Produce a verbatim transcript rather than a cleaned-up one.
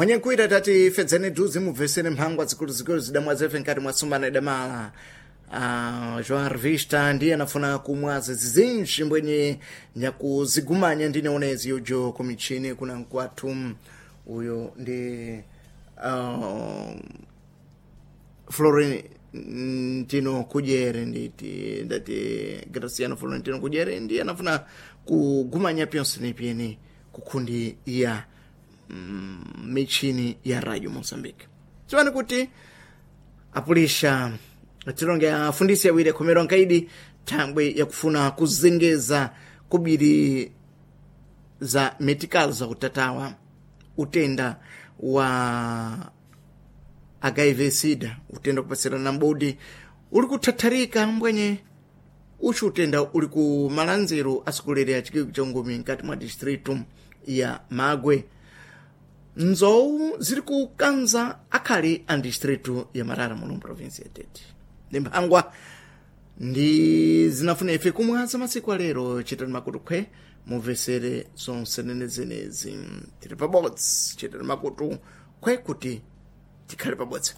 Mwenye nkuita tati fedzeni duzi mubvesere mphangwa zikuluzikulu zidamwa zefe nkati mwa sumbana idamala. Uh, João Revista ndiye anafuna kumwaza zizinji mbwenye nyakuzigumanya ndine onezi yojo kumichini kuna nkwathu uyo ndi uh, Florentino Kujere nditi ndati Graciano Florentino Kujere ndiye anafuna kugumanya pyonse nipyeni kukundi ya mm, michini ya Radio Mozambique. Tiwani kuti apulisha tilonge afundisi awiri akhomerwa nkaidi thangwe yakufuna kuzengeza kubiri za medical za utatawa utenda wa H I V sida, utenda kupasirana mbodi uli kuthatharika mbwenye uchu utenda uli ku malanziro asikulere a chikiku cha ngumi nkati mwa distritu ya Magwe. Nzowu ziri kukanza akhali a distritu ya Marara muno provinsi ya Tete. Ndi mphangwa ndi zinafuna ife kumwaza masiku alero. Chitani makutu khwe mumvesere zonse nenezenezi. Tili pabodzi, chitani makutu khwe kuti tikhale pabodzi.